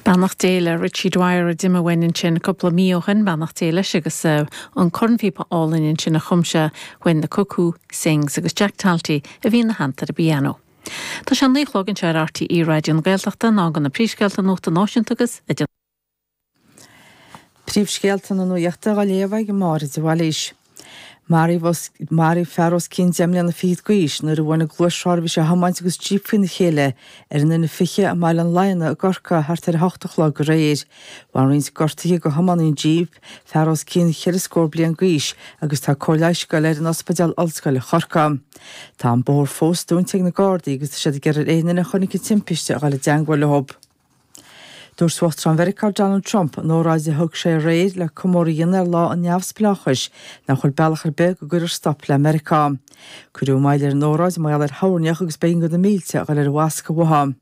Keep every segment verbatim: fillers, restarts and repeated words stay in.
Beannacht Dé le Richie Dwyer a d'imigh uainn ansin cúpla mí ó shin beannacht Dé leis agus uh, an cornphíopa álainn ansin a chum sé When the Cuckoo Sings agus Jack Talty a bhí ina theannta ar an bpianó. Tá sé naoi a chlog anseo ar RTÉ Raidió na Gaeltachta ná gan na príomhscéalta nuachta náisiúnta agus a Príomhscéalta na nuachta á léamh ag Máire de Bhailís. Maraíodh fear os cionn deich mbliana fichead d'aois nuair a bhain gluaisrothar a bhí sé a thiomáint agus jíp faoina chéile ar an N fiche i mBaile an Laigheanaigh i gCorcaigh thart ar a hocht a chlog aréir. Bhain roinnt gortuithe do thiománaí an jíp, fear os cionn cheithre scór bliain d'aois agus tá cóir leighis ag goil air in Ospidéal Ollscoile Chorcaí. Tá an bóthar fós dúnta ag na Gardaí agus tá siad ag iarraidh ar aon duine a chonaic an timpiste a dhul i dteagmháil leo. Dúirt Uachtarán Mheiriceá Donald Trump in óráid a thug sé aréir le comóradh a dhéanamh ar lá an neamhspleáchais nach bhfuil bealach ar bith go gcuirfear stop le Meiriceá. Cuireadh moill ar an óráid mar gheall ar thoirneach agus b'éigean do na mílte a dhul ar bhascadh uathu.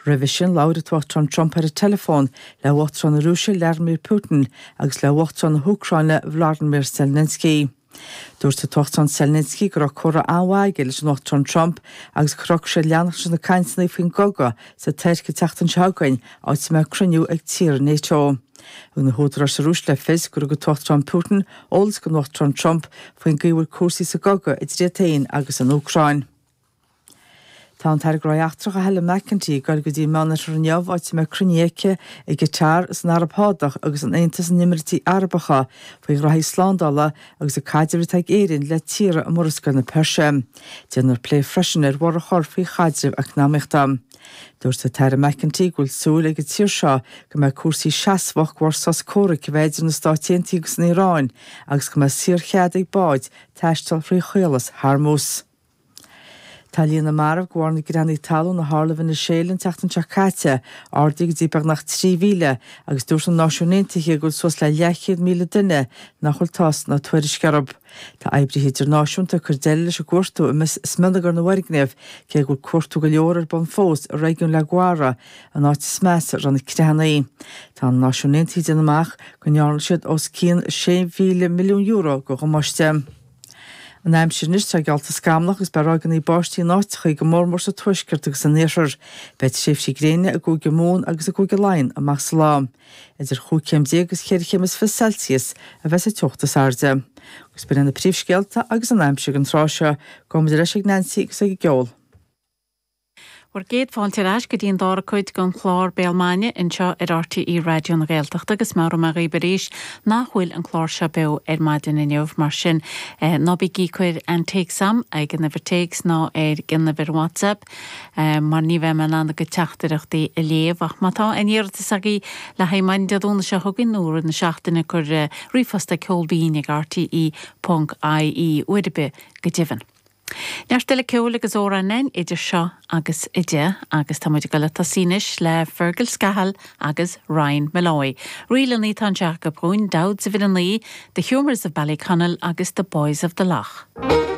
Roimhe sin labhair an tUachtarán Trump ar an teileafón le Uachtarán na Rúise Vladimir Putin agus le Uachtarán na hÚcráine Volodymyr Zelensky. Dúirt an tUachtarán Zelensky go raibh comhrá an-mhaith aige leis an Uachtarán Trump agus go raibh sé leanacht leis na cainteanna faoin gcogadh sa Tuirc an tseachtain seo chugainn áit a mbeidh cruinniú ag tíortha NATO. Thug na húdaráis sa Rúis le fios gur thug an tUachtarán Putin eolas don Uachtarán Trump faoin gcaoi a bhfuil cúrsaí sa gcogadh idir iad féin agus an Úcráin. Tá an tAire Gnóthaí Eachtracha Helen McEntee ag dul go dtí an Meánoirthear inniu áit a mbeidh cruinniú aici i gCatar san Araib Shádach agus in Aontas na nÉimíríochtaí Arabacha faoi ghraithí slándála agus an caidreamh atá ag Éirinn le tíortha i Murascaill na Peirse. Déanfar plé freisin ar bhorradh a chur faoi chaidreamh eacnamaíochta. Dúirt an tAire McEntee go bhfuil súil ag an tír seo go mbeidh cúrsaí seasmhach de bharr sos comhraic a bheith idir na Stáit Aontaithe agus an Iaráin agus go mbeidh saorchead ag báid taisteal thrí chaolas Hormuz. Tá líon na marbh de bharr na gcreathanna talún a tharla i Veiniséala an tseachtain seo caite ardaithe go dtí beagnach trí mhíle agus dúirt na Náisiúin Aontaithe go bhfuil suas le leathchéad míle duine nach bhfuil tásc ná tuairisc orthu. Tá oibrithe idirnáisiúnta ag cur deireadh leis an gcuartú i smionagar na bhfoirgneamh cé go bhfuil cuartú go leor ar bun fós i réigiún La Guaira an áit is measa a raibh na creathanna. Tá na Náisiúin Aontaithe ag déanamh amach go ndearna siad os cionn sé mhíle milliún euro de dhamáiste. An aimsir anois tá geallta scamallach agus beidh ráigeanna báistí in áiteacha go mórmór sa tuaisceart agus san iarthar. Beidh tréimhsí gréine i gCúige Mumhan agus i gCúige Laighean amach sa lá. Idir chúig chéim déag agus cheithre chéim is fiche Celsius a bheas an teocht is airde. Agus b'in na príomhscéalta agus an aimsir don tráth seo, gabhfaidh muid ar ais ag Nancy agus ag an gceol. Bhur gcéad fáilte ar ais go dtí an dara cuid den chlár Béal Maidine anseo ar RTÉ Raidió na Gaeltachta agus meabhróidh mé dhaoibh arís nach bhfuil an clár seo beo ar maidin inniu mar sin eh, ná bígí ag cur an téacs agam ag an uimhir téacs ná ar an uimhir WhatsApp eh, mar ní bheidh mé in ann bhur dteachtaireachtaí a léamh ach má tá aon iarratas agaibh le haghaidh maidin Dé Domhnaigh seo chugainn nó na seachtaine cuir eh, ríomhphost ag ceolbinn ag RTE ponc IE uair ar bith go deimhin. Neart eile ceoil agus amhrán idir seo agus a deich agus tá muid ag dul ag tosú anois le Fergal Scahill agus Ryan Molloy. Ríleanna atá anseo acu dhúinn, Dowds of Inninee, The Humours of Ballyconnell agus The Boys of the Lough.